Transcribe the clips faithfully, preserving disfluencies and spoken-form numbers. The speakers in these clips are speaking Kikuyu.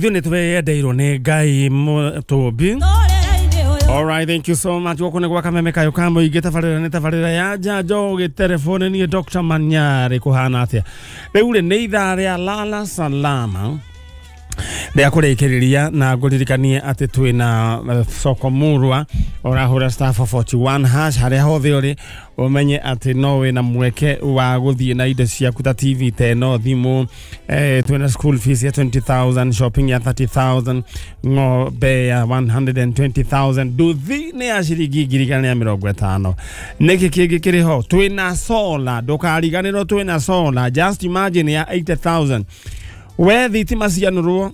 Ithuĩ nĩ twĩyendeirwo nĩ Ngai Mũtũmbi. All right, thank you so much. Gũkũ nĩ gwa Kameme kayũ ka mũingĩ, tabarĩra nĩ tabarĩra ya njanjo gĩterefone. Niĩ Doctor Manyarĩ, kũhana atĩa? Rĩu rĩ nĩ ithaa rĩa lala salama rĩa kũrĩkĩrĩria, na ngũririkanie atĩ twĩna eh, soko murwa. Ũrahũra star four four one hash harĩa hothe ũrĩ, ũmenye atĩ no wĩna mweke wa gũthiĩ na indo ciaku ta T V ta ĩno, thimũ, eh, twĩna school fees ya twenty thousand, shopping ya thirty thousand, ng'ombe ya one hundred twenty thousand, nduthi nĩ ya ciringi ngiri igana rĩa mĩrongo ĩtano. Nĩkĩ kĩngĩ kĩrĩ ho? Twĩna solar, ndũkariganĩrwo twĩna solar, just imagine, ya eighty thousand. We thitima cianũrwo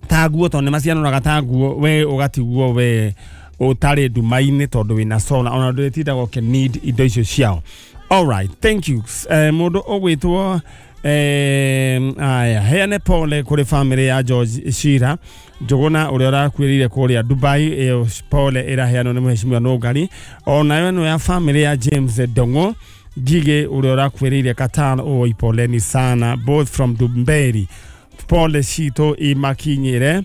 ta nguo, tondũ nĩ macianũraga ta nguo, we ũgatigwo we ũtarĩ nduma-inĩ tondũ wĩna solar, ona ndũrĩtindaga ũkĩ need indo icio ciao. Alright, thank you. eh, mũndũ ũgwĩtwo eh, aya heane pole kũrĩ family ya George Shira Njũgũna ũrĩa ũrakuĩrĩire kũrĩa Dubai. Ĩyo pole ĩraheanwo nĩ mheshimiwa Nũngari. Onayo ĩno ya family ya James Ndong'o Ngigĩ ũrĩa ũrakuĩrĩire Qatar, oi poleni sana, both from Dumberi, pole citũ imakinyĩre.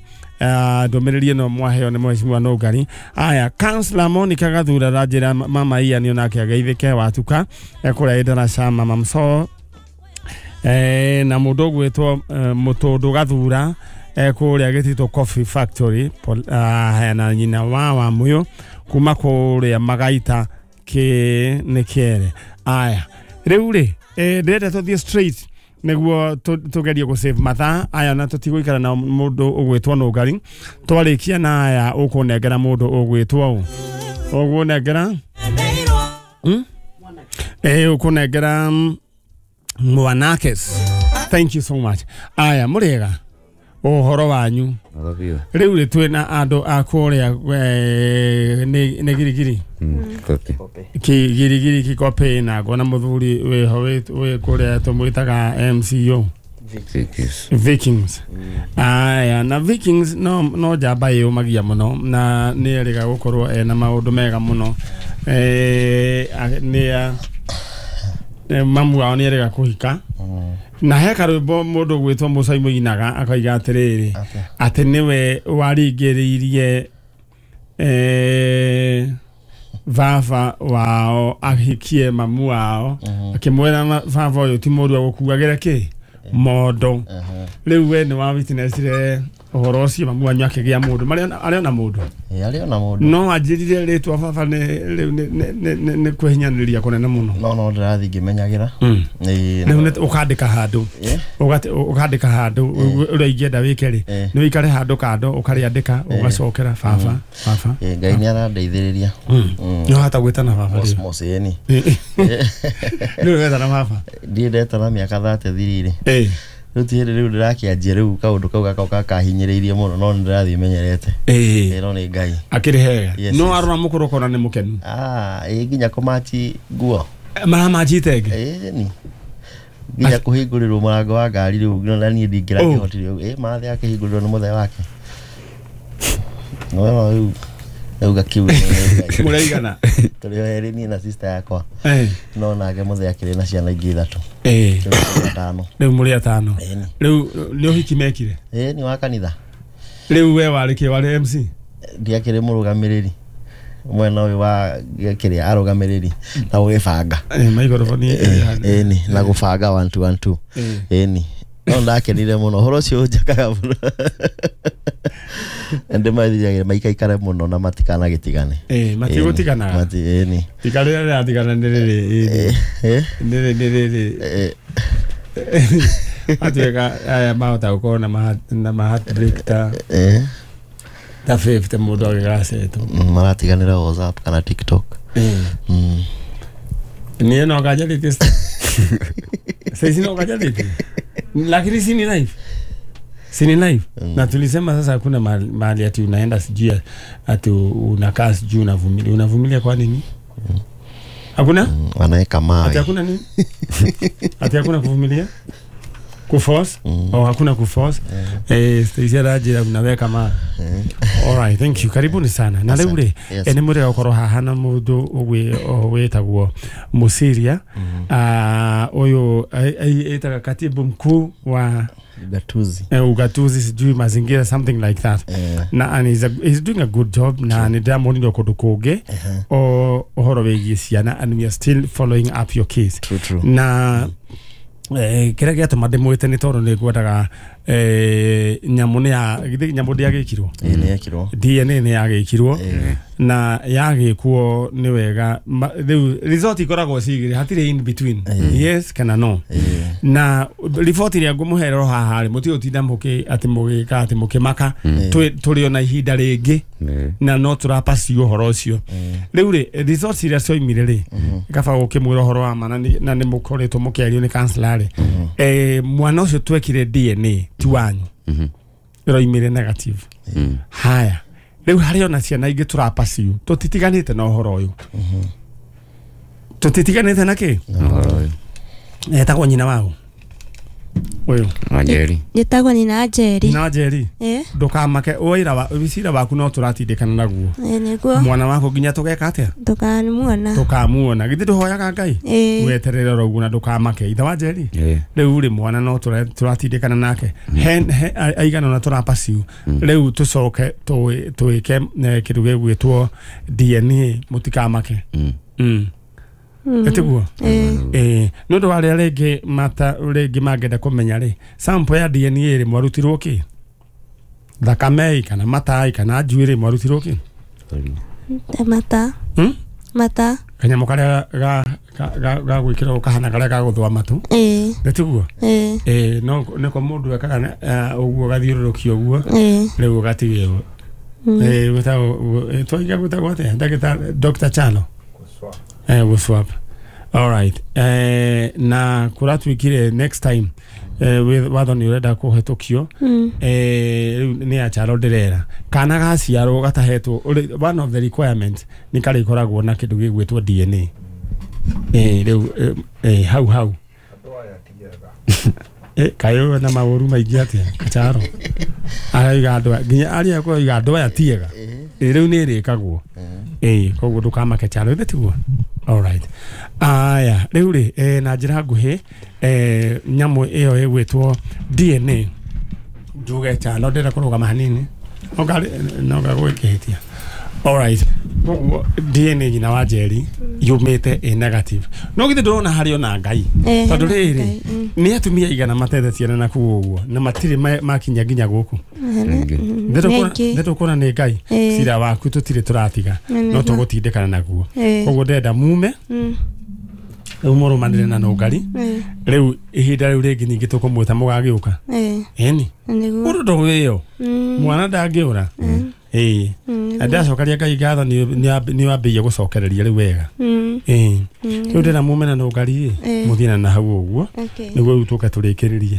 Ndũmĩrĩri ĩno mwaheo nĩ mheshimiwa Nũngari. Aya, Councillor Monica Gathura ranjĩra mama Ian onake ageithĩke watuka kũrĩa ĩndaraca mama mso eh, na mũndũ ũgwĩtwo eh, Mũtũndũ Gathura eh, kũrĩa Gĩtitũ Coffee Factory. Pol- ah, na nyina wa Wamũyũ kuma kũrĩa Magaita kĩ nĩ kĩere. Aya, rĩu rĩ eh, ndĩrenda tũthiĩ straight nĩguo tũ- tũgerie gũ save mathaa aya na tũtigũikara na mũndũ ũgwĩtwo Nũngari. Twarĩkia na aya, ũkũnengera mũndũ ũgwĩtwo ũ ũgũnengera hmm? Eh, ũkũnengera mm, Mwanakes. Thank you so much. Aya, mũrĩega, ũhoro wanyu? Wega biũ. Rĩu rĩ twĩna andũ a kũrĩa eh, nĩ nĩ Girigiri. Kopi. Kigirigiri Kikopĩ, na ngona mũthuri wĩho wĩ wĩ kũrĩa tũmwĩtaga M C O. Vikings. Vikings. Aya, na Vikings no no njamba ĩyũmagia mũno na nĩ erĩga gũkorwo ena maũndũ mega mũno. eh, a- nĩ a- eh, mamu wao nĩ erĩga kũhika, na he karwĩmbo mũndũ gwĩtwo Mũcai mũinaga akoiga atĩrĩrĩ, atĩ nĩwe waringĩrĩirie eh, baba wao ahikie mamu wao, akĩmwĩra ma- baba ũyũ ti mũru agũkuagĩra kĩ mondo. Rĩu we nĩ wa witnessire ũhoro ũcio, mamu wanyu akĩgĩa mũndũ, marĩ arĩ ona mũndũ? Arĩ ona mũndũ. No anjĩrire rĩtwa baba nĩ rĩu nĩ- nĩ- nĩ- nĩ- nĩ kwĩhinyanĩrĩria kũnene mũno. No no ndĩrathiĩ ngĩmenyagĩra. Mm. Ĩĩ, Rĩu no. nĩ ũkandĩka handũ, Ĩ, ũgate- ũkandĩka handũ ũrĩa ingĩenda wĩke rĩ, Ĩ. nĩ ũikare handũ kando ũkarĩandĩka, ũgacokera baba, baba. Ĩ, Ngai nĩ arandeithĩrĩria. Mm. Nĩ wahota gwĩtana baba rĩu? Mos ĩni. Rĩu wetana baba? Ndiĩ ndetana mĩaka thate thirire. Ĩ. Rĩu ti hĩndĩ rĩu ndĩrakĩanjia, rĩu kaũndũ kau gakoka kahinyĩrĩirie mũno, no nĩ ndĩrathiĩ menyerete. Ĩ. Ĩ, no nĩ Ngai. Akĩrĩ hega? Yes, No yes. arora mũkũrũ ũkona nĩ mũkenu? Ah, ĩ, nginya kũmachi nguo. Maramanjite ĩngĩ? Ĩ, ni nginya kũhingũrĩrwo mũrango wa ngari rĩu na niĩ ndingĩrakĩhotire ũguo. Ĩ, mathe akĩhingũrĩrwo nĩ mũthee wake, no no rĩu rĩu gakiuga nĩ Ngai. Mũraigana? Tũrĩ o erĩ, niĩ na sister yakwa. Ĩ. No nake mũthee akĩrĩ na ciana ingĩ ithatũ. Ĩ. Rĩu tũrĩ atano. Rĩu mũrĩ atano? Ĩni. Rĩu nĩ ũhiki mekire? Ĩ, ni wa kanitha. Rĩu we warĩ kĩ, warĩ M C? Ndiakĩrĩ mũrũgamĩrĩri mwena ũyũ wa kĩrĩa, arũgamĩrĩri na gũgĩbanga. Ĩ, maikoroboni? Ĩni, na gũbanga one two one two. Ĩni, no ndakenire mũno, ũhoro ũcio ũnjakaga mũno. Ndĩmathiagĩra maikaikare mũno na matikanagĩtigane. Ĩ, matigũtiganaga? Mati, ĩni. Tika rĩrĩa rĩratigana nĩ rĩrĩ? Ĩ, ĩ, Nĩ rĩ rĩrĩ? Ĩ, Matuĩka aya mahota gũkorwo na ma- na ma heartbreak ta ĩ, ta fifty mũndũ agĩgacetwo. Mm, maratiganĩra WhatsApp kana TikTok. Mm. Niĩ no nganjarĩtie saizi, no nganjarĩtie, lakini si ni life, si ni life? Na tulisema sasa hakuna mahali mahali ati unaenda sijui ati unakaa sijui unavumilia, unavumilia kwa nini? Hakuna. Mm, wanaweka Ati mawe. hakuna nini? Ati hakuna kuvumilia? Kuforce? Oh, hakuna kuforce. Eh, Stacy arajira mnaweka ma. All right, thank you. Karibuni sana. Na rĩu rĩ, nĩ mũrĩ gũkorwo haha na mũndũ wĩtagwo Musiria. Ah, ũyũ ĩtaga katibu mkuu wa ugatuzi. Eh, ugatuzi sijui mazingira something like that. Eh. Na and he's, a, he's doing a good job na nĩ ndĩramuonire kũndũ kũngĩ o ũhoro wĩgiĩ ciana and we are still following up your case. True, true. Na eh kĩrĩa gĩatũma ndĩmwĩte nĩ tondũ nĩ ngwendaga eh nyamũ nĩ ya githĩ nyamũ ndĩagĩkirwo Ĩĩ nĩ yekirwo. D N A nĩ yagĩkirwo Ĩĩ. na yagĩkwo nĩ wega rĩu result ikoragwo cigĩrĩ hatirĩ in between yes kana no na riboti ĩrĩa ngũmũherero haha rĩ mũtigũtinda mũkĩ atĩ mũgĩka atĩ mũkĩmaka tũrĩ ona ihinda rĩngĩ na no tũrapacio ũhoro ũcio rĩu rĩ results iria cioimire rĩ kaba gũkĩmwĩra ũhoro wa ma na nĩ mũkoretwo mũkĩario nĩ counselor rĩ eh mwana ũcio twekire D N A ti wanyu ĩroimire negative haya rĩu harĩ ona ciana ingĩ tũrapacio tũtitiganĩte na ũhoro ũyũ tũtitiganĩte na kĩ etagwo nyina wao ũyũ Njeri njĩtagwo nyina Njeri nyina Njeri ndũkamake ũira wa wicira waku no tũratindĩkana naguo nĩguo mwana waku nginya tũgeka atĩa tũkamuona tũkamuona githĩ ndũhoyaga Ngai weterere oro ũguo na ndũkamake ithe wa Njeri rĩu rĩ mwana no tũratindĩkana nake aigana ona tũrapaciu rĩu tũcoke twĩke kĩndũ gĩgwĩtwo D N A mũtikamake ĩtiguo eh nĩ ũndũ wa arĩa rĩngĩ mata rĩngĩ mangĩenda kũmenya rĩ sample ya D N A rĩ mwarutirwo kĩ thakame kana matai kana njuĩrĩ mwarutirwo kĩ mata hmm? mata kanyamũ karĩa ga ga ga gwĩkĩrwo kahana karĩa ga gũthũa matũ ĩĩ ĩtiguo ĩĩ ĩĩ no nĩko mũndũ ekaga ũguo gathiũrũrũkio ũguo rĩu ũgatigĩrwo ĩĩ gwĩtagwo twaiga gwĩtagwo atĩa ndagĩtarĩ Doctor Chalo eh we'll swap. All right. Eh na kuratuikire next time eh with watho ni urenda kuhetũkio eh riu ni acharo ndirera kana gaciarwo gatahetwo one of the requirements ni karĩkoragwo na kĩndũ gĩgwĩtwo D N A eh riu eh hau hau eh kayo na maũru maingĩ atia kacharo araiga andũ nginya aria koiga andũ aya tiega rĩu nĩ ĩrĩkagwo eh koguo ndũkamake Chalo ithe tiguo. All right. Aya rĩu rĩ eh, na njĩra nguhĩ eh, nyamũ ĩyo ĩgwĩtwo D N A njuge Chalo ndĩrenda kũrũgama hanini no ngagwĩkĩhĩtia. All right. Koguo D N A nyina wa Njeri yumĩte ĩ negative no githĩ ndũrona harĩ ona Ngai tondũ rĩrĩ nĩ atumia igana matete ciana na kũu ũguo na matirĩ makinya nginya gũkũ ndĩtũkuona nĩ Ngai cira waku tũtirĩ tũratiga no tũgũtindĩkana naguo koguo ndĩrenda mume rĩu mũrũmanĩre na nũngari rĩu ihinda rĩu rĩngĩ ningĩ tũkũmwĩta mũgagĩũka ĩni ũndũ ndũwĩyo mwana ndangĩũra ĩĩ ndacokaria Ngai ngatho nĩ wambĩrĩirie gũcokereria rĩu wega ĩĩ rĩu ndĩra mume na nũngari ĩ mũthiĩ na hau ũguo nĩguo rĩu tũke tũrĩkĩrĩrie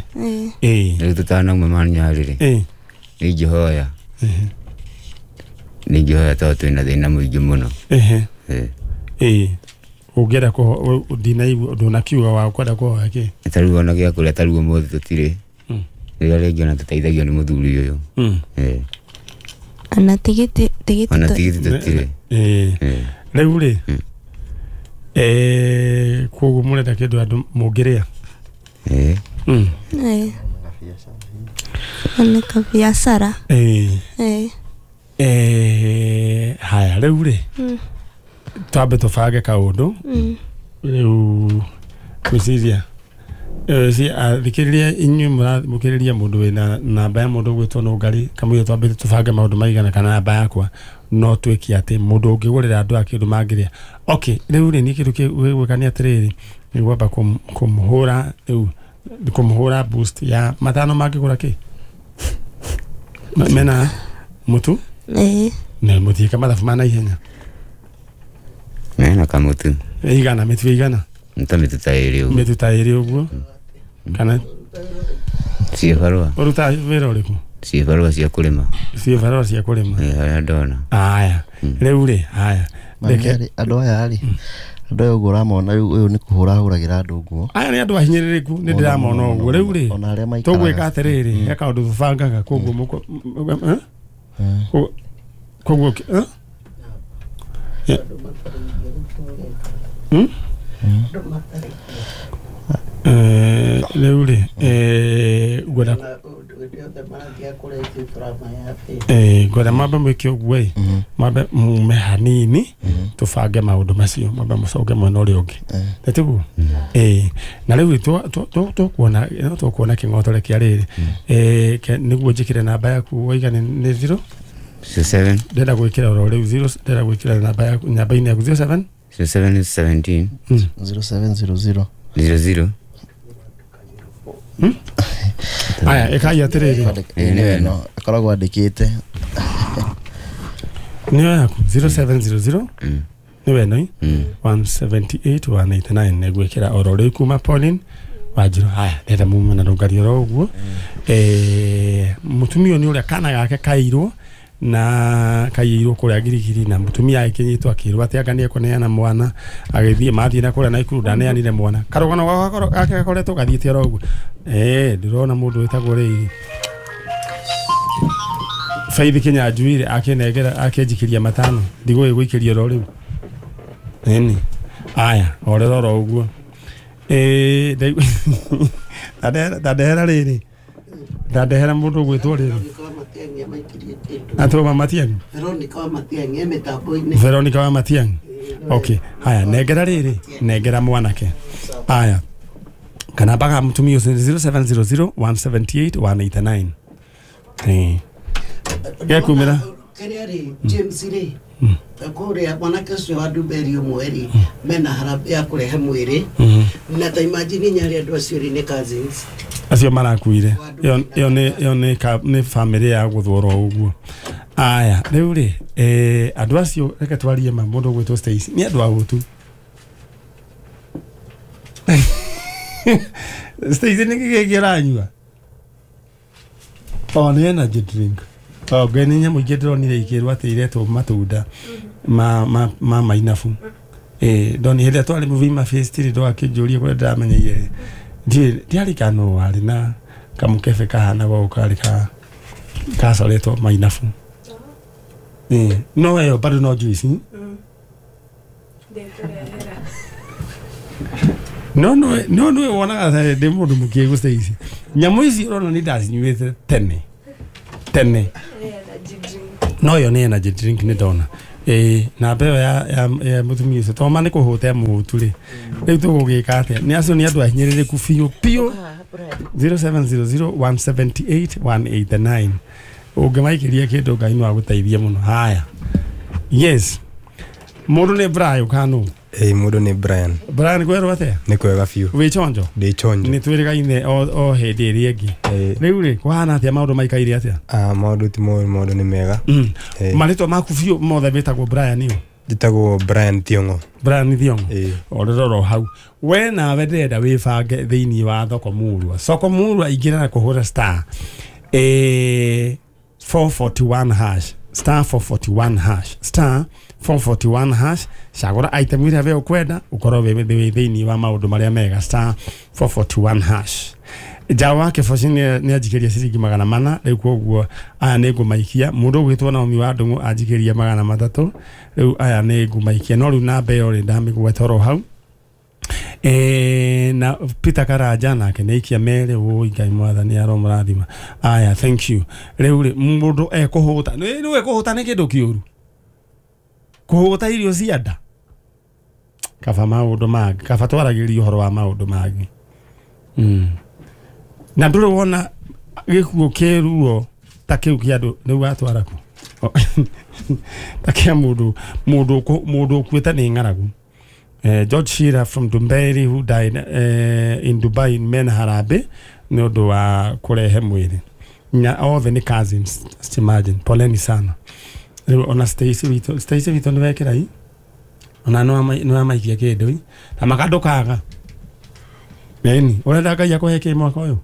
ĩĩ rĩu tũtanauma manyarĩrĩ ĩĩ nĩingĩhoya nĩingĩhoya tondũ twĩna thĩna mũingĩ mũno ĩĩ ũngĩenda ndinaigua ndũnakiuga wa kwenda kũhoya kĩ ta rĩu ona gĩa kũrĩa ta rĩu ũmũthĩ tũtirĩ rĩrĩa rĩngĩ ona tũteithagio nĩ mũthuri ũyũ ĩĩ ana tigiti tigiti ona tigiti tũtirĩ ĩĩ rĩu rĩ eh koguo mũrenda kĩndũ andũ mũngĩrĩa ĩĩ ĩĩ ona kabiacara ĩĩ ĩĩ eh haya rĩu rĩ twambe tũbange kaũndũ rĩu gwĩciria thikĩrĩria inyuĩ mũramũkĩrĩria mũndũ wĩna namba ya mũndũ ũgwĩtwo Nũngari kamũira twambĩte tũbange maũndũ maigana kana namba yakwa no twĩke atĩ mũndũ ũngĩgũrĩra andũ a kĩndũ mangĩrĩa okay rĩu rĩ niĩ kĩndũ gĩgwĩka nĩ atĩrĩrĩ nĩ gwamba kũmũhũra rĩu kũmũhũra boost ya matano mangĩgũra kĩ mena mũtu ĩĩ na mũtiĩka mathabu ma naihenya mena kamũtu igana mĩtu igana nta mĩtu ta ĩrĩ ũguo mĩtu ta ĩrĩ ũguo kana ciĩbarũa ũrutaga wĩra ũrĩkũ ciĩbarũa cia kũrĩma ciĩbarũa cia kũrĩma ĩĩ harĩa ndona aya rĩu rĩ aya reke andũ aya rĩ Andũ aya ũguo ũramona rĩu ũyũ nĩ kũhũra ahũragĩra andũ nguo. Aya nĩ andũ ahinyĩrĩrĩku nĩ ndĩramona ũguo rĩu rĩ. Ona arĩa maikaraga. Tũgwĩka atĩrĩrĩ he kaũndũ tũbangaga koguo mũko eh? Koguo eh? Hmm? Eh, rĩu rĩ eh ngwenda eh ngwenda mambe mwĩke ũguo ĩ mambe mume hanini tũbange maũndũ macio mambe mũcoke mwena ũrĩa ũngĩ nĩtiguo eh na rĩu tũkuona tũkuona kĩng'otore kĩa rĩrĩ eh nĩguo njĩkĩre namba yaku waiga nĩ zero seven ndĩrenda gwĩkĩra oro rĩu zero ndĩrenda gwĩkĩra namba yaku namba-inĩ yaku zero seven zero seven seventeen zero seven zero zero zero zero. Hmm? Aya ĩkai atĩrĩrĩ nĩwe no akoragwo andĩkĩte nĩyo yaku zero seven zero zero nĩwe no one seven eight one eight nine nĩgwĩkĩra oro rĩu kuma Pauline Wanjiru. Haya ndĩrenda mume na rũngari oro ũguo eh mũtumia nĩ ũrĩa kana gake kairwo na kaiyirwo kuria girigiri na mutumia akinyitwo akirwo ati anga niekũneana mwana agithie mathie na kuria Naikuru ndaneanire mwana karugano gake gakoretwo gathiĩte oro ũguo eh ndirona mundu wĩtagwo rĩiri Faith Kinyanjui akinengera akinjikiria matano ndigũĩ gũikĩria oro rĩu nini aya orera oro ũguo eh ndandehera rĩrĩ ndandehera mũndũ ũgwĩtwo rĩrĩ Atoma Matiang'i Veronica wa Matiang'i e mĩtambo-inĩ Veronica wa Matiang'i okay haya nengera rĩrĩ nengera mwanake haya kana mpaka mtumie zero seven zero zero one seven eight one eight nine eh gekumira kĩrĩa rĩ James rĩ kũrĩa mwanake ũcio wa Ndumberi ũmwe rĩ mena harambee ya kũrehe mwĩrĩ na ta imagine nyarĩ andũ acio rĩ nĩ cousins acio marakuire ĩyo nĩ ĩyo nĩ nĩ family ya gũthwo ũguo aya rĩu rĩ eh andũ acio reke twarie ma mũndũ ũgwĩtwo Stacy nĩ andũ a gũtu Stacy nĩ kĩĩ kĩranyua o nĩ energy drink o ngai nĩ nyamũ ingĩ ndĩronire ikĩrwo atĩ iretwo matunda ma ma ma mainabu eh ndoni hĩndĩ ĩrĩa twarĩ Muvima Fest rĩ ndwakĩnjũria kũrĩa ndĩramenyeire ndiĩ ndiarĩ kano warĩ na kamũkebe kahana gũkũ karĩ ka kacoretwo mainabu eh no ĩyo bado no juice no no no no wonaga ndĩ mũndũ mũkĩgu Stacy nyamũ ici ũrona nĩ ndacinyuĩte tene tene no ĩyo nĩ energy drink nĩ ndona eh na mbeo ya ya mũtumia ũcio to ma nĩ kũhũta mũhutu rĩ rĩu tũgũgĩka atĩa nĩ acio nĩ andũ ahinyĩrĩrĩku biũ biũ zero seven zero zero one seven eight one eight nine ũngĩmaikĩria kĩndũ Ngai no agũteithie mũno haya yes mũndũ nĩ Brian kanu eh mũndũ nĩ Brian Brian kwĩrwo atĩa nĩ kwega biũ wĩ chonjo ndĩ chonjo nĩ twĩrĩgaine o hĩndĩ ĩrĩa ĩngĩ rĩu rĩ kũhana atĩa maũndũ maikaire atĩa ah maũndũ ti moru maũndũ nĩ mega marĩtwa maku biũ mothe wĩtagwo Brian ĩyo njĩtagwo Brian Thiong'o Brian Thiong'o orero hau we nawe ndĩrenda wĩbange thĩinĩ wa thoko murwa soko murwa ingĩra na kũhũra star eh four forty-one hash star four forty-one hash star four forty-one hash cagũra item ĩrĩa we ũkwenda ũkorwo wĩ thĩinĩ wa maũndũ marĩa mega star four forty-one hash Jawa wake Kĩboci nĩ anjikĩria ciringi magana mana rĩu koguo aya nĩ ngũmaikia mũndũ ũgwĩtwo Naomi wa Ndung'u anjikĩria magana matatũ rĩu aya nĩ ngũmaikia no rĩu namba ĩyo rĩ ndamĩgweta oro hau eh na Peter Karanja nake nĩ aikia merĩ woi Ngai mwathani aromũrathima aya thank you rĩu rĩ mũndũ ekũhũta nĩ ekũhũta nĩ kĩndũ kĩũru kũhũta irio cia nda kaba maũndũ mangĩ kaba twaragĩria ũhoro wa maũndũ mangĩ mm na ndũrĩ wona gĩkuũ kĩruo ta kĩu kĩa andũ nĩu watwara kũ ta kĩa mũndũ mũndũ mũndũ ũkuĩte nĩ ng'aragu. Eh, George Shearer from Dumberi who died eh, in Dubai in mena harambee nĩ ũndũ wa kũrehe mwĩrĩ nya othe nĩ cousins just imagine poleni sana rĩu ona Stacy witũ Stacy witũ nĩ wekĩra i ona no no amaikia kĩndũ i na makandũkaga nini ũrenda Ngai akũhe kĩ mwaka ũyũ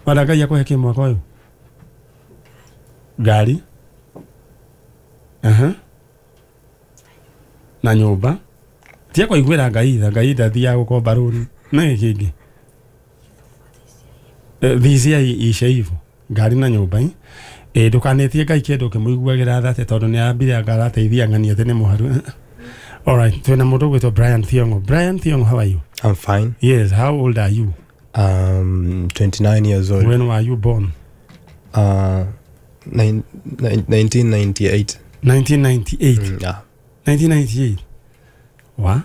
ũrenda Ngai akũhe kĩ mwaka ũyũ ngari aha na nyũmba Tia kũiguĩra Ngai tha, Ngai ndathiaga gũkomba rũni. Nĩ kĩngĩ. D C I ice hivyo. Ngari na nyũmba ĩ. Ĩ ndũkanetie Ngai kĩndũ ũkĩmũiguagĩra tha atĩ tondũ nĩ ambire anga arateithia ng'ani atĩ nĩ mũharu. All right, twĩna mũndũ ũgwĩtwo Brian Thiong'o. Brian Thiong'o, how are you? I'm fine. Yes, how old are you? Um, twenty-nine years old. When were you born? Uh, nine, nine, nineteen ninety-eight. nineteen ninety-eight? Mm, yeah. nineteen ninety-eight? Wa?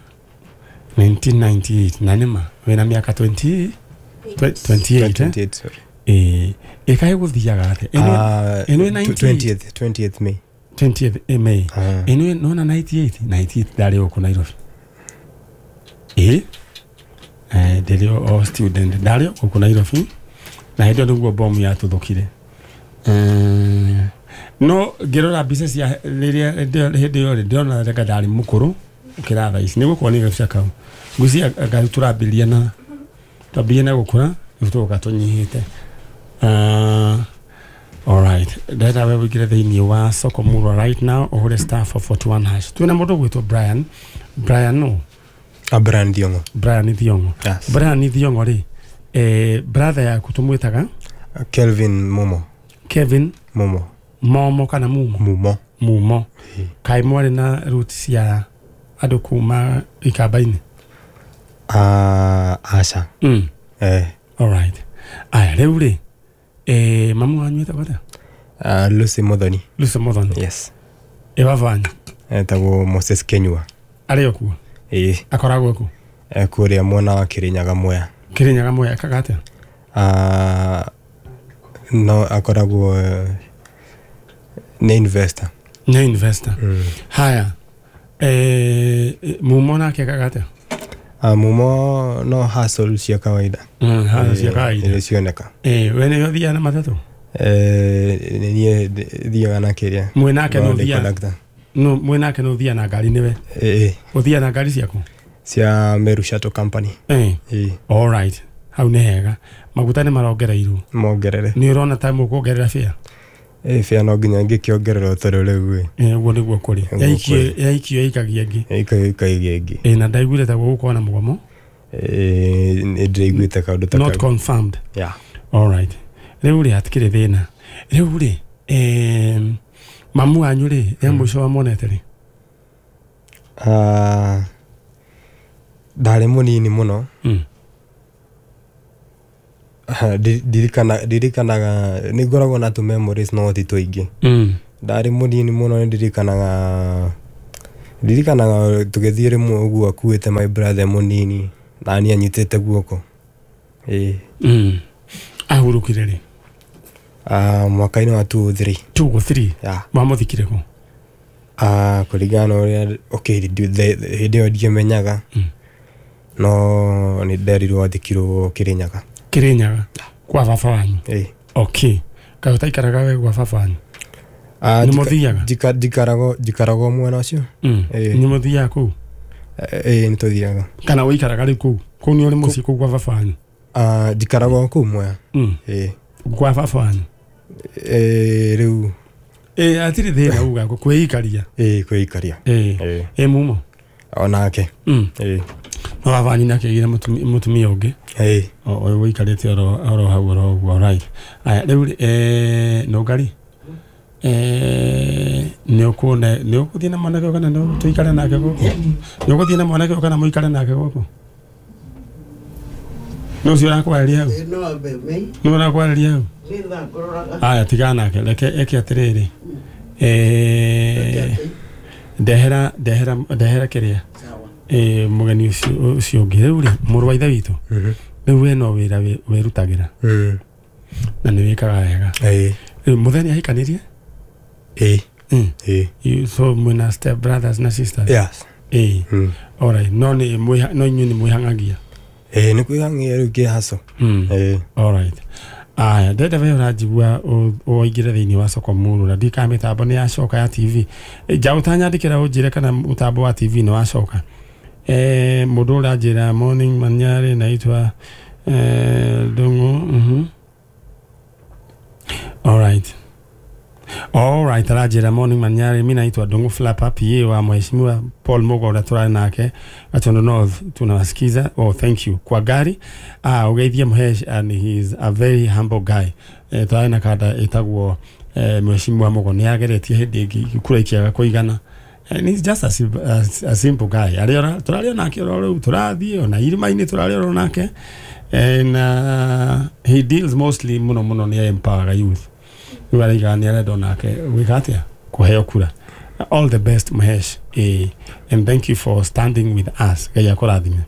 nineteen ninety-eight. Na nĩma, wĩna mĩaka twenty, twenty-eight, twenty-eight, sorry. Eh, ĩkaĩ gũthiaga atĩa? Uh, twentieth, twentieth May. twentieth May. Ĩno nona ninety-eight, ninety-eight ndarĩ gũkũ Nairobi. Eh? Eh, ndĩrĩ o student ndarĩ gũkũ Nairobi. Na hĩndĩ ĩyo nĩguo bomu yatuthũkire. Eh, no ngĩrora mbica cia rĩrĩa hĩndĩ ĩyo rĩ ndĩrona reka ndarĩ mũkũrũ ũkĩra thaa ici. Nĩgũkorwo nĩ gabica kau. Ngwĩciria anga tũrambĩrĩria na twambĩrĩria na gũkũra rĩu tũgoka tũnyihĩte. Uh, all right. Ndĩrenda we wĩingĩre thĩinĩ wa Soko Murwa right now ũhũre star four forty-one hash. Twĩna mũndũ ũgwĩtwo Brian. Brian no? Uh, Brian Thiong'o. Brian Thiong'o. Yes. Brian Thiong'o rĩ, eh, brother yaku tũmwĩtaga? Kelvin Momo. Kevin Momo. Momo kana Mumo? Mumo. Mumo. Kaĩ mwarĩ na roots cia andũ kuma Ikamba-inĩ? Uh, aca. Mm. Eh. All right. Aya, rĩu rĩ, eh, mamu wanyu etagwo atĩa? Uh, Lucy Muthoni. Lucy Muthoni. Yes. Ĩ baba wanyu? Etagwo Moses Kenyua. Arĩ o kuo? Ĩĩ. Akoragwo kũ? E kũrĩa mwena wa Kĩrĩnyaga Mwea. Kĩrĩnyaga Mwea ekaga atĩa? Uh, no akoragwo nĩ investor. Nĩ investor. Mm. Haya. Eh, Mumo nake ekaga atĩa? Uh, Mumo no hustle cia kawaida. Mm, hustle cia kawaida. Iria cioneka. Eh, we nĩwe ũthiaga na matatũ? Eh, nĩ niĩ thiaga na kĩrĩa. Mwĩ nake nĩ ũthiaga? No, mwĩ nake nĩ ũthiaga na ngari nĩwe? Ĩĩ. Ũthiaga na ngari ciaku? Cia Meru Shuttle Company. Eh. Ĩĩ. All right. Hau nĩ hega. Maguta nĩ marongereirwo. Mongerere. Nĩ ũrona ta mũkuongerera fare? Ĩĩ, fare no nginya ngĩkĩongererwo tondũ rĩu ĩ. Ĩĩ, ũguo nĩguo kũrĩ. Yaikio yaikio ĩikagia ĩngĩ. Yaikio ĩikagia ĩngĩ. Ĩĩ, na ndaiguire ta gũgũkorwo na mũgomo. Ĩĩ, nĩ ndĩraiguĩte kaũndũ ta kau. Not confirmed. Yeah. All right. Rĩu rĩ hatikĩrĩ thĩna. Rĩu rĩ, eh, mamu wanyu rĩ, ya mũico wamuonete rĩ? Ah, ndarĩ mũnini mũno. Mm. Ndirikana ndirikanaga nĩ ngoragwo na tũ memories no ti tũingĩ. Mm. Ndarĩ mũnini mũno nĩ ndirikanaga ndirikanaga tũgĩthiĩ rĩmwe ũguo akuĩte my brother mũnini na niĩ anyitĩte guoko. Ĩĩ. Mm. Ahurũkire rĩ? Ah, mwaka-inĩ wa two oh three. two oh three? Yeah. Wamũthikire kũ? Ah, kũringana na ũrĩa okay hĩndĩ ĩyo ndiamenyaga. Mm. No nĩ nderirwo athikirwo Kĩrĩnyaga. Kĩrĩnyaga kwa baba wanyu? Ĩĩ. Okay. Kaĩ ũtaikaraga we gwa baba wanyu? Ah, Nĩ mũthiaga? njikaragwo njikaragwo mwena ũcio. Mm. Nĩ mũthiaga kũu? Ĩĩ, nĩ tũthiaga. Kana ũikaraga rĩu kũu? Kũu nĩ ũrĩ mũciĩ kũu gwa baba wanyu? Ah, njikaragwo kũu Mwea. Mm. Ĩĩ. Gwa baba wanyu? Ĩĩ, rĩu. Ĩĩ, hatirĩ thĩna uga kwĩikaria. Ĩĩ, kwĩikaria. Ĩĩ. Ĩĩ, Mumo? Onake. Mm. Ĩĩ. No baba wanyu nĩ akĩgĩire mũtumia ũngĩ? Ĩĩ. Ũyũ ũikarĩte oro oro hau oro ũguo, right. Aya, rĩu rĩ, eh, Nũngari? Eh, nĩ ũkuona nĩ ũgũthiĩ na mwanake ũyũ kana nĩ tũikare nake gũkũ? Nĩ ũgũthiĩ na mwanake ũyũ kana mũikare nake gũkũ? Nĩ ũcio ũrakwarĩria hau? No ambe mei. Nĩ ũrakwarĩria hau? Nĩ thaa ngũroraga. Aya, tigana nake, reke eke atĩrĩrĩ. Eh, ndehera ndehera ndehera kĩrĩa. Eh, mũgeni ũcio ũcio ũngĩ. Rĩu rĩ, mũrũ wa ithe witũ. Rĩu we no wĩra wĩrutagĩra. Mm. Na nĩ wĩkaga wega. Ĩĩ. Rĩu mũthenya ahikanirie? Ĩĩ. Mm. Ĩĩ. So mwĩna step brothers na sisters? Yes. Ĩĩ. Mm. All right. No nĩ no inyuĩ nĩ mwĩhang'agia? Ĩĩ, nĩ kwĩhang'ia rĩu kĩhaco. Mm. Ĩĩ. All right. Aya, ndenda we ũranjigua ũingĩre thĩinĩ wa Soko Murwa na ndika mĩtambo nĩ yacoka ya T V. Nja ũtanyandĩkĩra ũnjĩre kana mũtambo wa T V nĩ wacoka. Eh, mũndũ ũranjĩra morning Manyarĩ naitwa eh Ndung'u. Mhm. All right. All right, arajira morning Manyari, mimi naitwa Dongo Flapa P A wa Mheshimiwa Paul Mugo turari nake Gatundu North, tunawasikiza. Oh, thank you kwa gari. Ah, ugeithie Mhesh, and he is a very humble guy. Eh, turari na kada etagwo eh, Mheshimiwa Mugo ni ageretie hindi ĩngĩ kura ikiaga kũigana. And he's just a, a, a simple guy. Ariora turario nake oro riu turathie ona irima-inĩ turario oro nake. And uh, he deals mostly muno muno ni empower youth. Riu ni arenda onake gwĩka atĩa kũheo kura. All the best Mahesh, eh, and thank you for standing with us. Ngai akũrathime.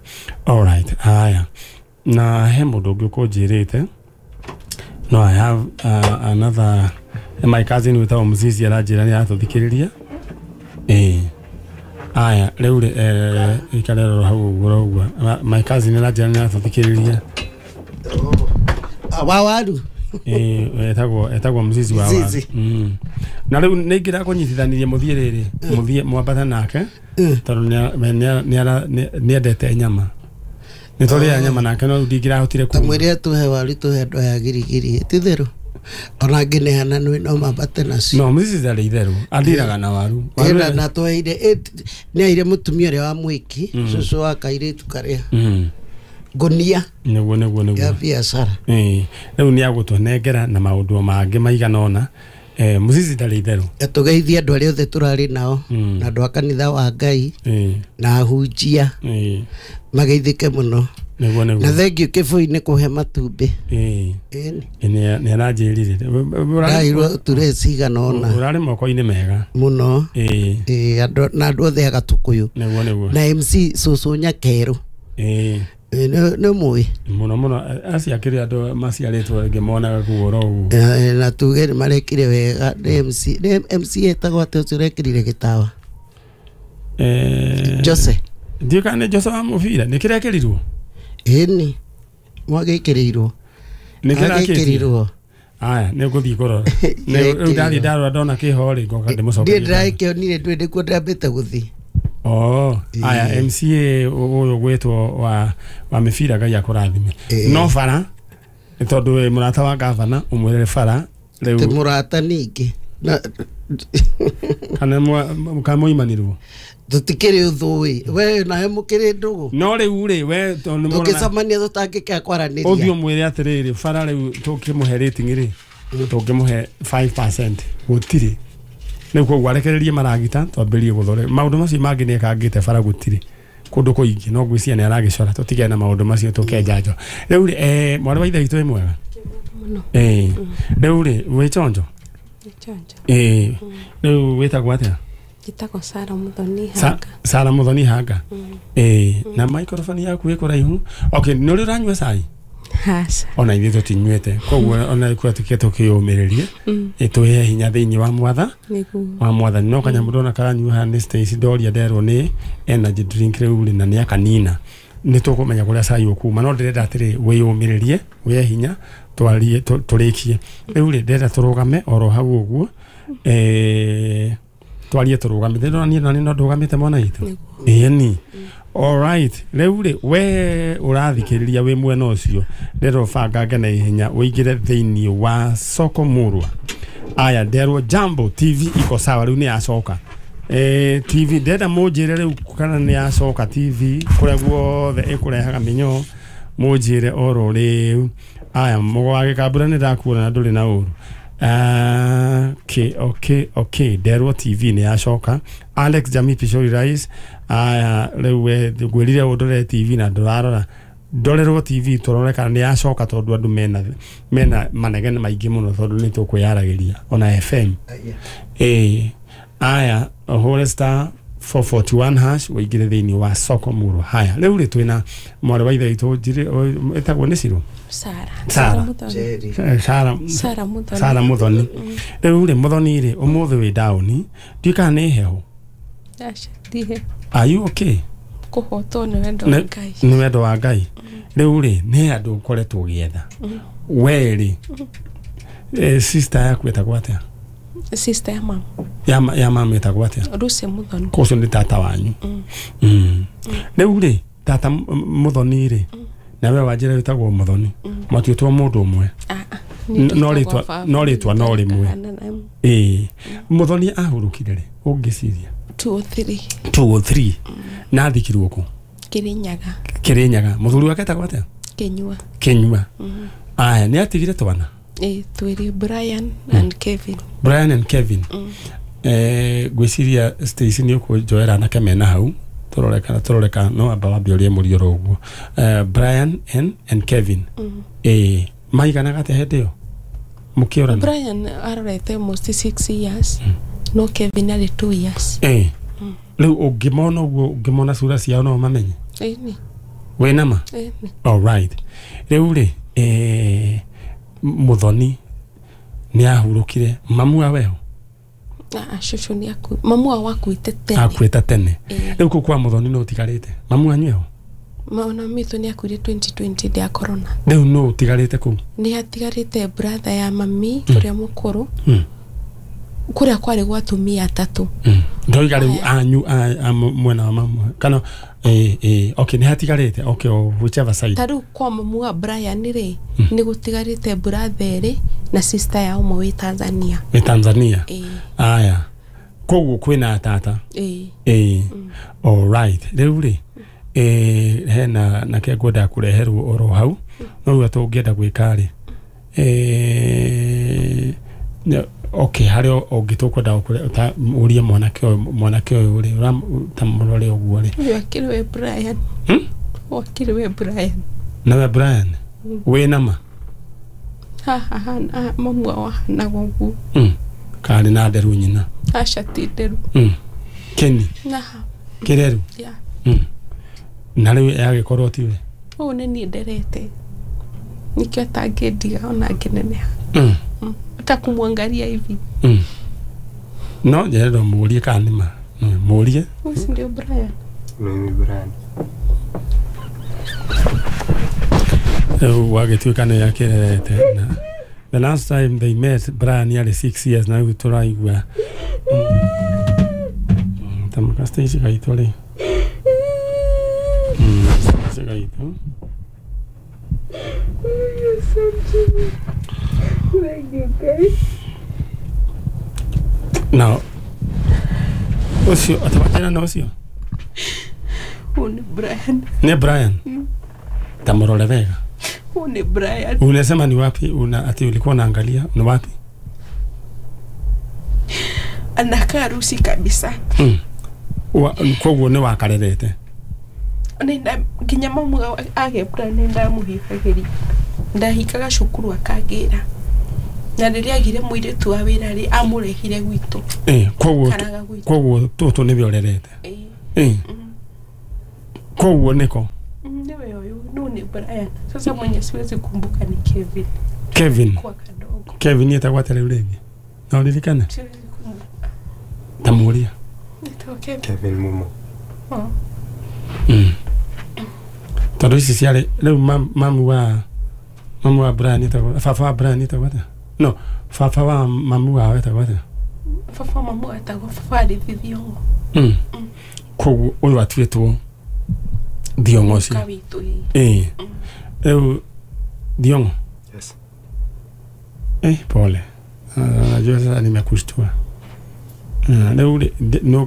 All right, haya na he mũndũ ũngĩ ũkũnjĩrĩte. No, I have uh, another my cousin without Mzizi aranjĩra nĩ aratũthikĩrĩria. Eh, aya rĩu eh ikarero hau ũguo ũguo my cousin aranjĩra nĩ aratũthikĩrĩria. Wa waru eh etagwo etagwo Mzizi wa waru. Mm. Na rĩu nĩ ingĩra kũnyitithanirie mũthiĩ rĩrĩ mũthiĩ mwambata nake tondũ nĩ nĩendete nyama. Nĩ tũrĩa nyama nake no ndingĩrahotire ku tamwĩre tũhe waru tũhe andũ aya girigiri ti therũ ona ngĩneana nĩ no mambate nacio. No Mzizi arĩ itherũ andiraga na waru. Ĩna na twaire nĩ aire mũtumia ũrĩa wa mwĩki cũcũ wa kairĩtu karĩa ngonia nĩguo nĩguo nĩguo ya biacara. Eh, rĩu nĩ agũtũnengera na maũndũ mangĩ maigana ũna. Eh, Mzizi ndarĩ itherũ. Tũgeithie andũ arĩa othe tũrarĩ nao na andũ a kanitha wa Ngai na ahunjia mageithĩke mũno. Nĩguo nĩguo. Na thengiũ Kĩbũi-inĩ kũhe matumbĩ. Eh. Ĩni nĩ aranjĩrire. Ndairwo ture cigana ũna. Ũrarĩ moko-inĩ mega mũno. Eh. Eh, andũ na andũ othe a Gatũkũyũ. Nĩguo nĩguo. Na M C cũcũ Nyakerũ. Eh. Nĩ mũĩ mũno mũno acio akĩrĩ andũ maciarĩtwo ngĩmonaga kuo oro ũguo. Na tuge nĩ marekire wega. Nĩ M C nĩ M C etagwo atĩ ũcio ũrekĩrire gĩtawa. Eh, Jose. Ndiũ kana nĩ Jose wa mũbira nĩ kĩrekĩrirwo? Ĩni mwagĩkĩrĩirwo. Nĩ kĩrakĩrĩirwo. Aya nĩ ngũthiĩ kũrora. Rĩu ndathiĩ ndarora ndona kĩho rĩ ngoka ndĩmũcokerie. Ndiĩ ndĩrakĩonire ndũĩ nĩkuo ndĩrambĩte gũthiĩ. Oh, aya M C A ũyũ gwĩtwo wa wa mĩbira Ngai akũrathime. No bara tondũ wĩ mũrata wa gavana ũmwĩrĩre bara rĩu. Ti mũrata ningĩ. Kana mũimanĩrwo. Tũtikĩrĩ ũthũ ĩ. We nawe mũkĩrĩ ndũgũ. No rĩu rĩ we tondũ nĩ tũngĩcemania tũtangĩkĩa kwaranĩria. Ũthiĩ ũmwĩre atĩrĩrĩ bara rĩu tũkĩmũhe rating rĩ tũngĩmũhe five percent gũtirĩ. Rĩu koguo arekererie maragita twambĩrĩrie gũthore maũndũ macio mangĩ nĩ ekangĩte bara gũtirĩ kũndũ kũingĩ no ngwĩciria nĩ aragĩcora tũtigane na maũndũ macio tũkenja njo. Rĩu rĩ eh mwarĩ wa ithe witũ wĩ mwega mũno. Eh, rĩu rĩ wĩ chonjo? Eh, rĩu wĩtagwo atĩa? Njĩtagwo Sara Muthoni Hanga. Sara Muthoni Hanga. Eh, na microphone yaku ĩ kũraihu. Okay, nĩ ũrĩ ũranyua cai? Aca. Ona ithuĩ tũtinyuĩte koguo ona ikuwa tukie tũkĩyũmĩrĩrie ĩtũhe hinya thĩinĩ wa mwatha wa mwathani. No kanyamũ ndona karanyua haha nĩ Stacy ndoria nderwo nĩ energy drink rĩu rĩ na nĩ akanina. Nĩ tũkũmenya kũrĩa cai ũkuma no ndĩrenda atĩrĩ wĩyũmĩrĩrie wĩhe hinya twarie tũrĩkie. Rĩu rĩ ndĩrenda tũrũgame oro hau ũguo eh twarie tũrũgamĩte. Ndĩrona niĩ nani no ndũgamĩte mwana witũ. Ĩni. All right, rĩu rĩ we ũrathikĩrĩria wĩ mwena ũcio ndĩrenda ũbangange na ihenya ũingĩre thĩinĩ wa Soko Murwa. Aya nderwo Jambo T V iko sawa rĩu nĩ yacoka. Eh, T V ndĩrenda mũnjĩre rĩu kana nĩ yacoka T V kũrĩa guothe ĩkũrehaga mĩnyoo mũnjĩre oro rĩu. Aya mũgo wa gĩkambura nĩ ndakuona na ndũrĩ na ũru. Okay, okay, okay. Nderwo T V nĩ yacoka. Alex Jami Pishori Rais. Aya rĩu we ngwĩrire ũndore T V na ndũrarora. Ndorerwo T V tũrore kana nĩ yacoka tondũ andũ mena mena manegene maingĩ mũno tondũ nĩ tũkwĩyaragĩria ona F M. Eh, aya ũhũre star four forty-one hash ũingĩre thĩinĩ wa Soko Murwa. Haya rĩu rĩ twĩna mwarĩ wa ithe witũ ĩtagwo nĩ Cirũ? Sara. Sara. Sara. Sara Muthoni. Sara Muthoni. Rĩu rĩ Muthoni rĩ ũmũthĩ wĩ down ndiũĩ kana nĩ heho. Aca ndihe. Are you okay? Kũhotwo nĩ wendo wa Ngai. Nĩ wendo wa Ngai. Rĩu rĩ nĩ andũ ũkoretwo ũgĩetha. We rĩ sister yaku ĩtagwo atĩa? Sister ya mama. Ya ya mama ĩtagwo atĩa? Lucy Muthoni. Ũcio nĩ tata wanyu. Rĩu rĩ tata Muthoni rĩ na we wanjĩra wĩtagwo Muthoni matuĩtwo mũndũ ũmwe. No rĩtwa no rĩtwa no rĩmwe. Ĩĩ Muthoni ahurukire ri ungiciria two oh three two oh three na athikirwo ku Kirinyaga Kirinyaga muthuri wake etagwo atia Kinyua Kinyua aya ni atigire twana eh twiri Brian and Kevin Brian and Kevin eh gwiciria Stacy ni ukunjoera anake mena hau turore kana turore kana no amba wambe urie murio ro uguo eh Brian and and Kevin eh maiganaga atia hindi iyo mukiorana Brian arorete almost six years no Kevin ari two years eh riu ungimona uguo ungimona cura ciao no mamenye eh ni wina ma eh ni all right riu ri eh muthoni ni ahurukire mamu wa weho ah shosho ni aku mamu wa wakuite tene akuite tene Eh. riu ku kwa muthoni no utigarite mamu anyu eho maona mitho ni akuire twenty twenty dia corona riu no utigarite kuu ni hatigarite brother ya mami kuria mukuru mm. kuria kwari gwa atumia atatu mm. ndoiga riu anyu a- a mwena wa mamu kana eh eh okay ni hatigarite okay o whichever side ta riu kwa mamu wa Brian ri ni gutigarite brother ri na sister ya umwe wi Tanzania ni Tanzania eh aya koguo kwina tata eh eh all right riu ri eh hena na ke ngwenda kureherwo oro hau no riu tũngĩenda gwĩka rĩ eh ne- okay harĩ ũngĩ tũkwenda ta ũrie mwanake ũyũ mwanake ũyũ rĩ ta mũrore ũguo rĩ uyu akiri we Brian Hmm? wakiri we Brian nawe Brian wĩna ma haha hana mamu wa hanaga ũguo Mm. karĩ na nderu nyina aca ti nderu Mm. Keni naha kĩreru ya Mm. na rĩu yagĩkorwo tiwe ũũ nĩ niĩ nderete nikio atangĩndiga ona ngĩneneha Mm. Mm. hata kumwangalia hivi Mm. no njerero mũrie kana nĩ ma No, mũrie huyu si ndio Brian Mimi Brian. Rĩu wagĩtuĩka nĩ akĩrerete na the last time they met Brian yarĩ six years na rĩu tũraigua Mm, ta mũka Stacy gaitũ rĩ Mm, Stacy gaitũ na ũcio atawachana na ũcio huyu ni Brian nĩ Brian ta mũrore wega huyu ni Brian unasema ni wapi una ati ulikuwa unaangalia ni wapi anakaa rusi kabisa mm. Wa- koguo nĩ wakarerete nenda nginya mamu agebra nenda muhikagĩria ndahikaga cukuru akangĩra na rĩrĩa agire mũirĩtu wa wĩra rĩ amũrehire gwitũ eh koguo karaga gwitũ koguo tũtũ nĩwe ũrerete Ĩĩ. eh koguo nĩko Mm, niwe ũyũ no ni Brian sasa mwenye siwezi kumbuka ni Kevin Kevin kwa kadogo Kevin etagwo atĩa rĩu rĩngĩ no ũririkane siwezi kumbuka ta mũria nĩtagwo Kevin Kevin Mumo. oh. mm. tondũ ici ciarĩ rĩu mam- mamu wa mamu wa Brian etagwo baba wa Brian etagwo atĩa no baba wa mamu wao etagwo atĩa baba mamu etagwo baba Arithi Thiong'o mm. koguo ũyũ atuĩtwo Thiong'o ũcio ka witũ ĩĩ ĩĩ rĩu Thiong'o Yes. Eh, pole. Ah, Najua sasa nimekushtua. Ah, Rĩu rĩ nĩ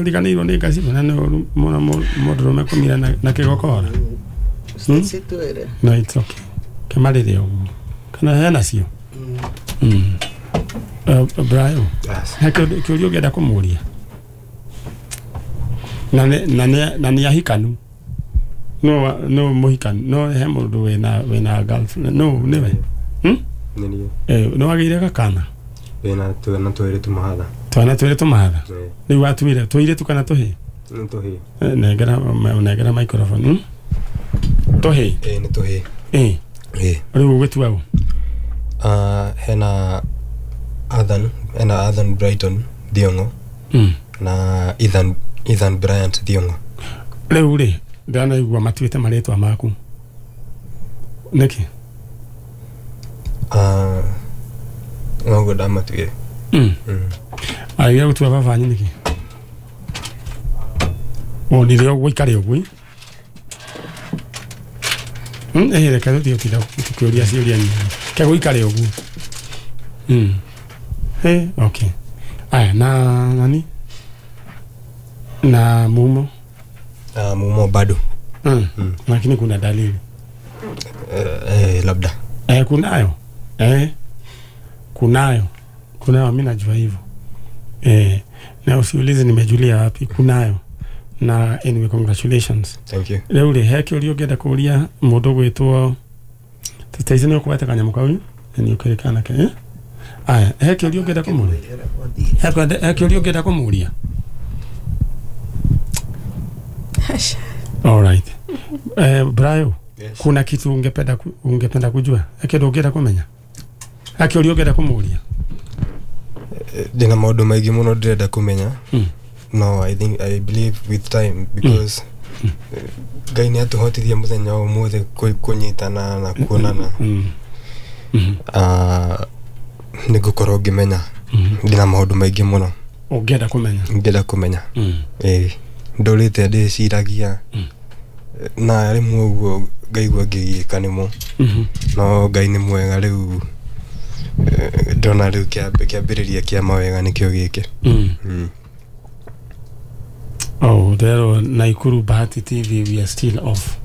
ũriganĩirwo nĩ ngaci na nĩ ũru mũno mũndũrũme kũmira na na kĩgokora. Stacy twĩre No, it's okay. Kĩmarĩre ũguo. Kana hena cio? Mm. Uh, Brian, Yes. he kĩũria kĩũria ũngĩenda kũmũria? Na nĩ na nĩ na nĩ ahikanu. No wa- no mũhikanu. No he mũndũ wĩna wĩna girlfriend. No nĩwe. Hmm? Nĩ niĩ. Eh, nĩ wagĩire gakana? Wĩna twana twĩrĩ tũmahatha. Twana twĩrĩ tũmahatha. Ĩĩ. Rĩu watuire tũirĩtu kana tũhĩĩ? Nĩ tũhĩĩ. Eh, nengera ma- nengera microphone hmm? Tũhĩĩ Ĩĩ nĩ tũhĩĩ. ĩĩ Ĩĩ. rĩu ũgũtua ũ Ah, hena Ethan, hena Ethan Brighton Thiong'o Mm. na Ethan Ethan Bryant Thiong'o. Rĩu rĩ ndĩranaigua matuĩte marĩtwa maku nĩkĩ Ah, noguo ndamatuire. Mm. Mm. Agire gũtua baba wanyu nĩkĩ wonire ũguo ikare ũguo Mm, eh reke tũtige gũtinda tũkĩũria ciũria nyingĩ ke gũikare ũguo Mm. Eh, okay Aya na nani na mumo Ah, mumo bado. mm. Mm. Lakini kuna dalili Eh, eh, labda eh, kunayo eh, kunayo kunayo, mimi najua hivyo eh, na usiulize nimejulia wapi, kunayo. Na anyway, congratulations. Thank you. Rĩu rĩ, he kĩũria ũngĩenda kũria mũndũ gwĩtwo taici nĩ ũkũweta kanyamũ kau nĩ ũkĩrĩ kanake eh? Aya, he kĩũria ũngĩenda kũmũria? He kwende- he kĩũria ũngĩenda kũmũria? Aca. All right. Eh, Brayo, Yes. kuna kitu ungependa ku, ungependa kujua? He kĩndũ ũngĩenda kũmenya? He kĩũria ũngĩenda kũmũria? Ndĩna maũndũ maingĩ mũno ndĩrenda kũmenya. Mm. No, I think I believe with time because eh, Ngai nĩ atũhotithia mũthenya wa ũmũthĩ kũ- kũnyitana na kuonana. Mm. Mm. Ah, nĩ ngũkorwo ngĩmenya. Mm. Ndĩna maũndũ maingĩ mũno Ũngĩenda kũmenya? ngĩenda kũmenya. Mm. Ĩĩ, ndũrĩte ndĩciragia Mm. na rĩmwe ũguo ngaigua ngĩgiĩka nĩmo, Mhm. no Ngai nĩ mwega rĩu, eh, ndona rĩu kĩamb- kĩambĩrĩria kĩa mawega nĩkĩo gĩkĩ. Mm. Mm. Oh, there Naikuru Bahati T V, we are still off.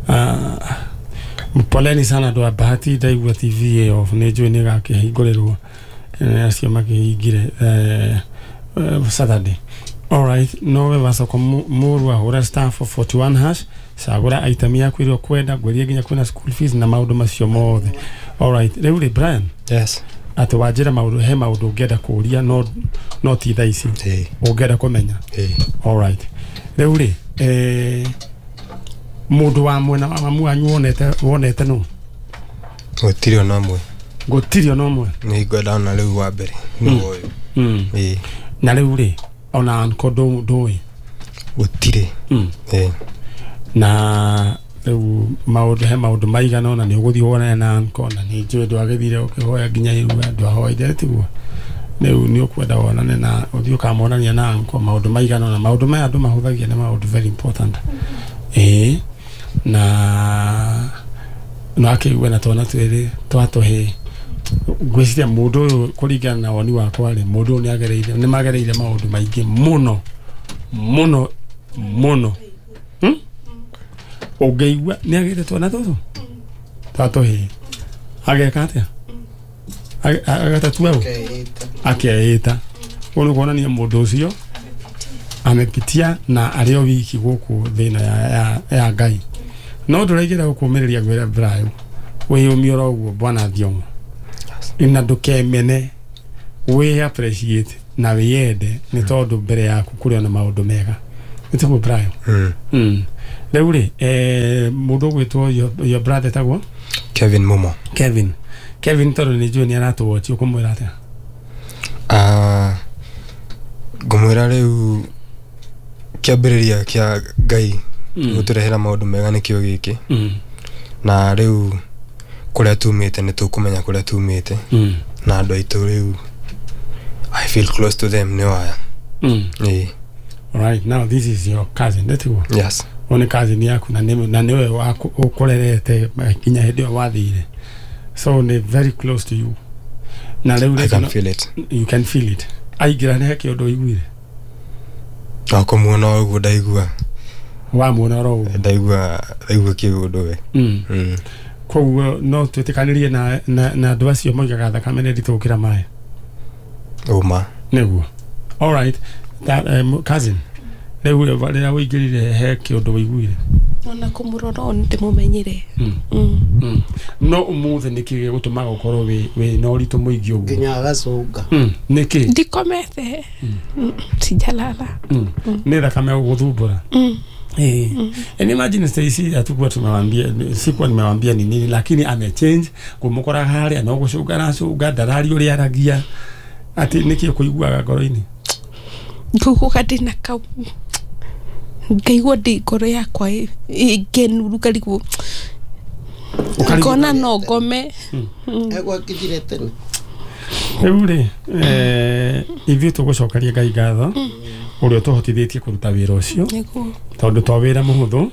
Uh, poleni sana andũ a Bahati, ndaigua T V ĩ off, nĩ njũĩ nĩ gakĩhingũrĩrwo eh, acio makĩhingire eh, eh, Saturday. All right, nowe wacoka mũru ahũra star four forty-one hash, cagũra item yaku ĩrĩa ũkwenda, ngwĩrie nginya kwĩna school fees na maũndũ macio mothe. All right, rĩu rĩ Brian, Yes. atĩ wanjĩra maũndũ, he maũndũ ũngĩenda kũũria no no ti thaa ici Ĩĩ, ũngĩenda kũmenya. ĩĩ. All right. Rĩu rĩ, eh, mũndũ wa mwena wa mamu wanyu wonete wonete nũ? Gũtirĩ ona ũmwe. Gũtirĩ ona ũmwe. Nĩ ngwenda ona rĩu wa mbere nĩ Mm. ũyũ. Mm. Ĩĩ, Na rĩu rĩ, ona uncle ndũ ndũĩ. gũtirĩ. Mm. Ĩĩ. Na rĩu maũndũ, he maũndũ maigana ona nĩ ũgũthiĩ wonane na uncle, na nĩ njũĩ ndwagĩthire ũkĩhoya nginya irua, ndwahoire tiguo. Rĩu nĩ ũkwenda wonane na ũthiĩ ũkamonania na uncle maũndũ maigana ona, maũndũ maya andũ mahũthagia nĩ maũndũ very important. Ĩĩ, na no akĩigue na twana twĩrĩ twa tũhĩĩ. Ngwĩciria mũndũ ũyũ kũringana na woni wakwa rĩ, mũndũ ũyũ nĩagereire, nĩmagereire maũndũ maingĩ mũno mũno mũno. Hmm? Ũngĩigua nĩagĩte twana tũtũ twa tũhĩĩ, ageka atĩa? Age- Agatatua ũ? Akeĩta. Ũguo nĩ kuonania mũndũ ũcio amepitia na arĩ o wiki gũkũ thĩ ĩno ya, ya, ya Ngai. No ndũraigĩra gũkũmĩrĩria ngwĩre Brayo, wĩyũmie oro ũguo bwana Thiong'o, na ndũkemene, wĩ appreciate na wĩyende nĩ tondũ mbere yaku kũrĩ ona maũndũ mega. Nĩ tiguo Brayo? Mm. Mm. Rĩu rĩ, eh, mũndũ ũgwĩtwo your, your brother etagwo Kevin Mumo. Kevin. Kevin tondũ nĩ njũĩ nĩ aratũwatch, ũkũmwĩra atĩa? Ah, ngũmwĩra rĩu kĩambĩrĩria kĩa Ngai Mm. gũtũrehera maũndũ mega nĩkĩo gĩkĩ. Mm. Na rĩu kũrĩa tumĩte nĩ tũkũmenya kũrĩa tumĩte. Mm. Na andũ aitũ rĩu I feel close to them nĩ aya. Mm. Ĩĩ. All right, now this is your cousin, nĩtiguo? Yes. Ũyũ nĩ cousin yaku na nĩ na nĩwe waku- ũkũrerete nginya hĩndĩ ĩyo wathire. So nĩ very close to you. Na rĩu I rĩ, can feel it. you can feel it. Aingĩra nĩ he kĩũndũ ũiguire? No kũmuona ũguo ndaigua. Wamuona oro ũguo. Ndaigua ndaigua kĩũndũ we. Mm. Mm. Koguo no twĩtĩkanĩrie na na na andũ acio moigaga thakame nĩ nditũ gũkĩra maĩ. Ũma. Nĩguo. All right. That, um, cousin, rĩu rĩrĩa ũingĩrire he kĩũndũ ũiguire? Ona kũmũrora ũũ nĩndĩmũmenyire. Mm. Mm. Mm. No ũmũthĩ nĩkĩ gĩgũtũmaga ũkorwo wĩ wĩ na ũritũ mũingĩ ũguo? Nginya agacũnga. Mm. Nĩkĩ? Ndikomete. Mm. Sijalala. Mm. Nĩ thakame gũgũthumbũra. Mm. Eh. And imagine Stacy hatukuwa tumewambia, sikuwa nimewambia ni nini, lakini amechange kumukora harĩa no gũcũnga aracũnga, ndarari ũrĩa aragia. Atĩ nĩkĩ ũkũiguaga ngoro-inĩ? Ngũiguaga ndĩna kau ngaigua ndĩ ngoro yakwa ĩngenuru ngarigwo ngona no ngome. Egwakinyire tene. Rĩu rĩ, eh, ithuĩ tũgũcokeria Ngai ngatho ũrĩa ũtũhotithĩtie kũruta wĩra ũcio, Nĩguo. tondũ to wĩra mũhũthũ.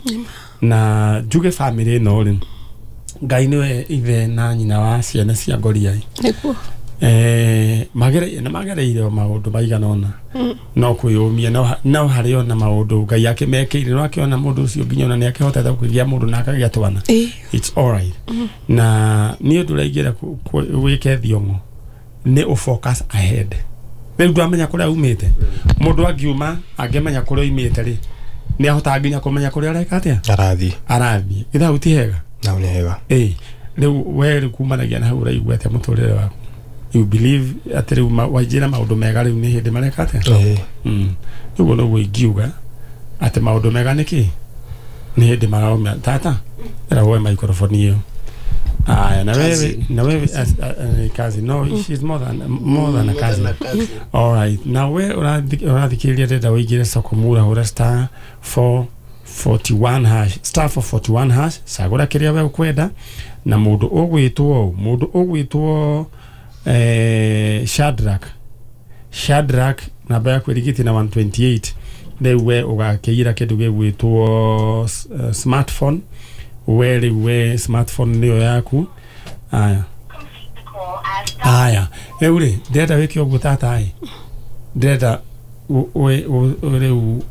Na njuge bamĩrĩ ĩno rĩ, Ngai nĩwe ithe na nyina wa ciana cia Ngoriai. Nĩguo. Eh magere na magereire maũndũ maigana ona no kwĩyũmia no no harĩ ona maũndũ Ngai akĩmekĩire no akĩona mũndũ ũcio nginya ona nĩ akĩhotete kũgĩa mũndũ na akagĩa twana. It's all right. Na niĩ ũndũ ũrĩa ingĩenda wĩke Thiong'o nĩ ũ focus ahead. Rĩu ndwamenya kũrĩa umĩte. Mũndũ angiuma angĩmenya kũrĩa oimĩte rĩ nĩ ahotaga nginya kũmenya kũrĩa areka atĩa arathiĩ arathiĩ. Githĩ hau ti hega? Nau nĩ hega. Ĩĩ rĩu we rĩu kumanagia na hau ũraigua atĩa mũtũrĩre waku? You believe atĩ rĩu wainjĩra maũndũ mega rĩu nĩ hĩndĩ mareka atĩa? Ĩĩ. Ũguo noguo ingiuga atĩ maũndũ mega nĩ kĩ? Nĩ hĩndĩ maraumia. Tata ĩra woe microphone ĩyo. Aya, na wewe na wewe kazi no she's more than more than a cousin. All right. Now we urathikiriria ndenda uingire soko mura hura star four forty-one hash star four forty-one hash cagura kiria we ukwenda na mundu ugwitwo mundu ugwitwo eh Shadrach Shadrach namba yaku irigiti na one twenty-eight riu we ugakiira kindu gigwitwo smartphone we riu we smartphone niyo yaku. Aya aya riu ri ndĩrenda wĩke ũguo tata ĩ ndĩrenda riu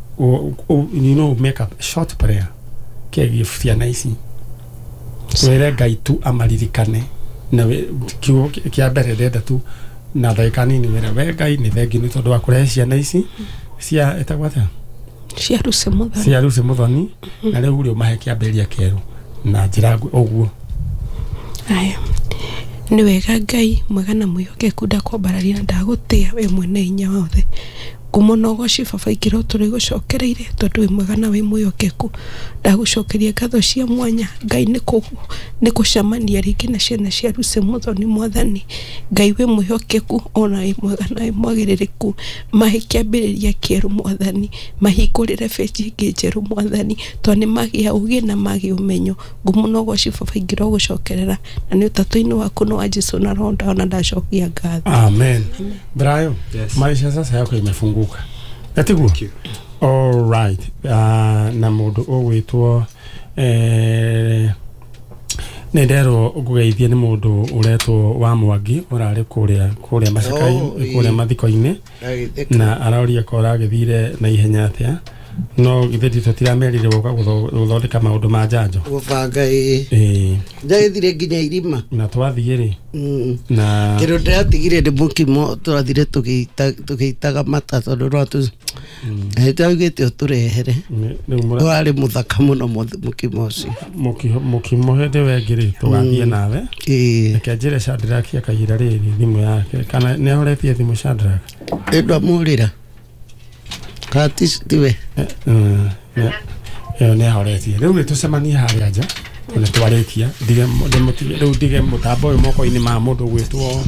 you know make a short prayer kegiĩ ciana ici wĩre Ngai tu amaririkane na kiugo kĩa mbere ndĩrenda tu na ndagĩka nini wĩre we Ngai nĩ thengiũ nĩ tondũ wa kũrehe ciana ici cia ĩtagwo atĩa cia Lucy Muthoni cia Lucy Muthoni na rĩu rĩ ũmahe kĩambĩrĩria kĩerũ na njĩra ũguo. Aya nĩ wega Ngai mwega na mwĩhokeku ndakwambararia na ndagũtĩa we mwene hinya wothe ngumo na ũgoci baba ingĩrwo tũrĩ gũcokereire tondũ wĩ mwega na wĩ mwĩhokeku ndagũcokeria ngatho cia mwanya Ngai nĩ nĩ gũcemania rĩngĩ na ciana cia Lucy Muthoni mwathani Ngai wĩ mwĩhokeku ona wĩ mwega na wĩ mwagĩrĩrĩku mahe kĩambĩrĩria kĩerũ mwathani mahingũrĩre benji ĩngĩ njerũ mwathani tondũ nĩ magĩa ũgĩ na magĩa ũmenyo ngumo na ũgoci baba ingĩrwo gũcokerera na nĩ ũtatũ-inĩ waku no wa Jesu na roho ndaona ndacokia ngatho. Amen. Brayo, yes. Maisha sasa yako imefunguka. Gatiguo. All right. Uh, na mundu ugwitwo eh nderwo ngugeithie ni mundu uretwo wa Mwangi urari kuria kuria macakai kuria mathiko-ini na aroria ko aragithire na ihenya atia no githe tutiramerire guka guthondeka maundu ma njanjo gubanga ii ii njagithire nginya irima na twathie ri na kindu ndiratigire ndi mukimo twathire tugiitaga mata tondu no tu twaugite uturehere wari muthaka muno mukimo ucio mukimo hindi wengĩ tugathie nawe reke njĩre Shadrack akaira rĩrĩ thimũ yake kana nĩ ahoretie thimũ Shadrack ndamũrĩra Katis tiwe ĩyo nĩ ahoretie rĩu nĩ tũcemanie harĩa nja nĩ twarĩkia rĩu ndige mũtambo ũyũ moko-inĩ ma mũndũ gwĩtwo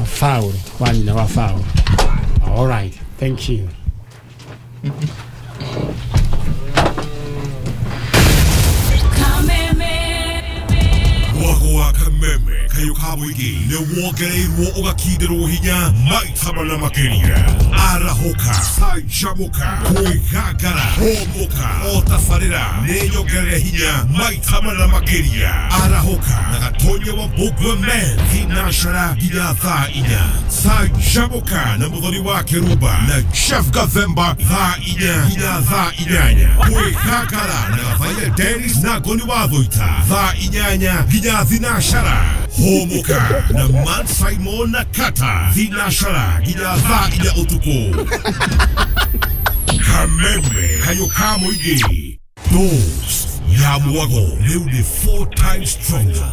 Faul wa nyina wa Faul. All right, thank you. Mwago wa Kameme kayo ka mũingĩ nĩ wongereirwo ũgakindĩrwo hinya maita mana makĩria arahũka canjamũka kwĩgangara hũmũka o tabarĩra nĩ nyongerere hinya maita mana makĩria arahũka na Gatonye wa Mbũgua Men thinashara nginya thaa inya canjamũka na Mũthoni wa Kĩrumba na Jeff Gathemba thaa inya nginya thaa inyanya kwĩgangara na Gathaia Dennis na Ngoni wa Thũita thaa inyanya nginya thinashara hũmũka na Man Simon na Kata thinashara nginya thaa inya ũtukũ. Kameme kayo ka mũingĩ dose ya mwago rĩu nĩ four times stronger.